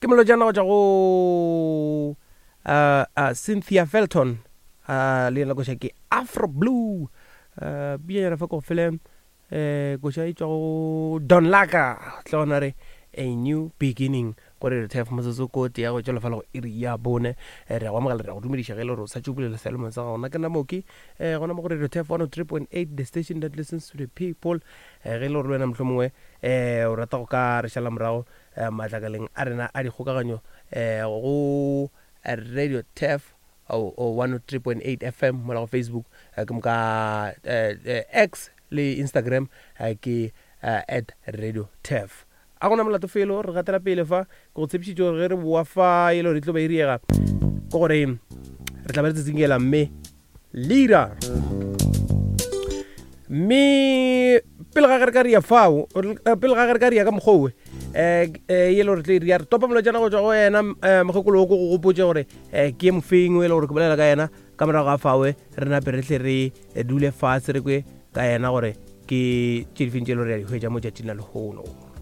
Ke molotšana go tšwa go uh, uh, Cynthia Felton uh, le yena koša ke Afro Blue uh, bjanyana fa ko fele eh koša e tšwa go Don Laka tle gona re a new beginning gore re thef motsotso ko tee ya go tšwela fela go iri ya bone eh, re a go amogela re a go dumediša ge e le gore o sa tšo bulela seyalemoya sa gago nna ke nna moki um gona mo go radio tef 103.8 the station that listens to the people eh, ge e le gore le wena mohlomongwe um o rata go ka re šala morago eh, matlakaleng a rena a dikgokaganyo eh, go radio tef 103.8 fm mola go facebook eh, ke moka eh, eh, x le instagram eh, ke eh, at radio tef a gona molato felo re gatela pele fa ke go tshepišitše gore ge re boa fa e le gore e tlo ba e riega ke gore re tla ba re tsitsinkela mme leader mme pele ga ge re ka ria fao eh, pele ga ge re ka ria ka mokgowe um e le gore tle ria re topa molotšana go tswa go yena um mokgekolo o ko go gopotse gore um ke mofeng o e le gore ke bolela ka yena ka morago ga fawe re nape re tle re dule fatshe re kwe ka yena gore ke tše difeng tše e le gore ya di hwetša mo tšatšing la lehono.